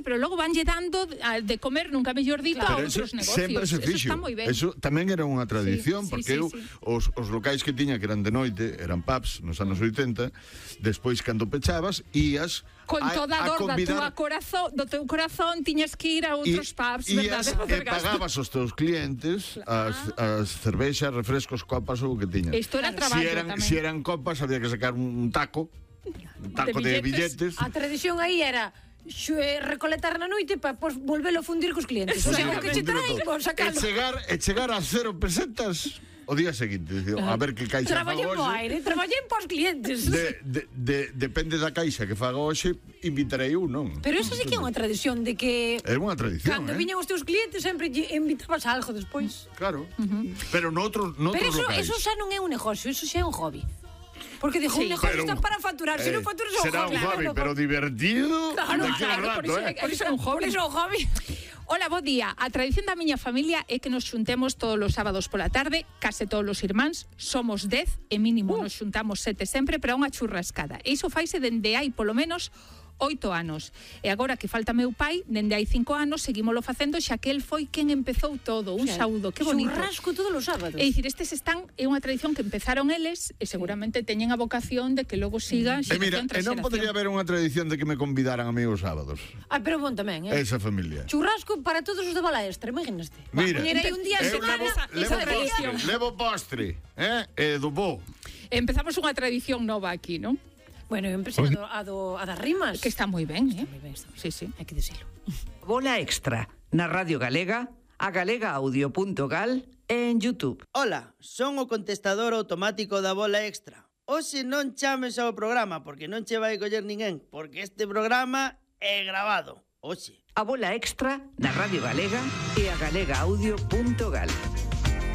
pero logo vanlle dando de comer, nunca mellor dito, a outros negocios. Sempre se fixo. Eso está moi ben. Eso tamén era unha tradición, porque sí. os locais que tiña, que eran de noite, eran pubs nos anos 80, despois, cando pechabas, ías con toda a dor do teu corazón tiñas que ir a outros pubs, verdade? E pagabas gasto. aos teus clientes as cervexas, refrescos, copas ou o que tiñas. Isto era traballo tamén. Si eran copas, había que sacar un taco de billetes. A tradición aí era recoletar na noite para volvelo a fundir cos clientes. O sea, o que che traen, vos sacalo. E chegar a 0 pesetas o día seguinte, a ver que caixa fago hoxe. Traballei no aire, traballei pos clientes. Depende da caixa que fago hoxe, invitarei un, non? Pero eso sí que é unha tradición de que é unha tradición, cando viñan os teus clientes sempre invitabas algo despois. Claro. Pero noutros locais. Pero eso xa non é un negocio, eso xa é un hobby. Porque dijo, un negocio está para facturar, se non facturas é un hobby. Será un hobby, pero divertido. Claro, por iso é un hobby. Hola, bo día. A tradición da miña familia é que nos xuntemos todos os sábados pola tarde, case todos os irmáns, somos 10 e mínimo nos xuntamos 7 sempre para unha churrascada. E iso faise dende hai polo menos 8 anos. E agora que falta meu pai, dende hai 5 anos, seguímolo facendo, xa que el foi quen empezou todo. Un saúdo, que bonito. Churrasco todos os sábados. É dicir, é unha tradición que empezaron eles e seguramente teñen a vocación de que logo siga xeración tras xeración. Non podería haber unha tradición de que me convidaran a mí os sábados. Pero bon tamén, Esa familia. Churrasco para todos os de Bala Extra, imaginaste. Mira, un día levo postre, e do bo. Empezamos unha tradición nova aquí, non? Bueno, eu empecé a das rimas. Que está moi ben, Está moi ben, está moi ben. Sí, hai que dicilo. Bola Extra, na Radio Galega, a galegaaudio.gal e en YouTube. Ola, son o contestador automático da Bola Extra. Hoxe non chames ao programa porque non che vai coller ninguén, porque este programa é grabado. Hoxe. A Bola Extra na Radio Galega e a galegaaudio.gal.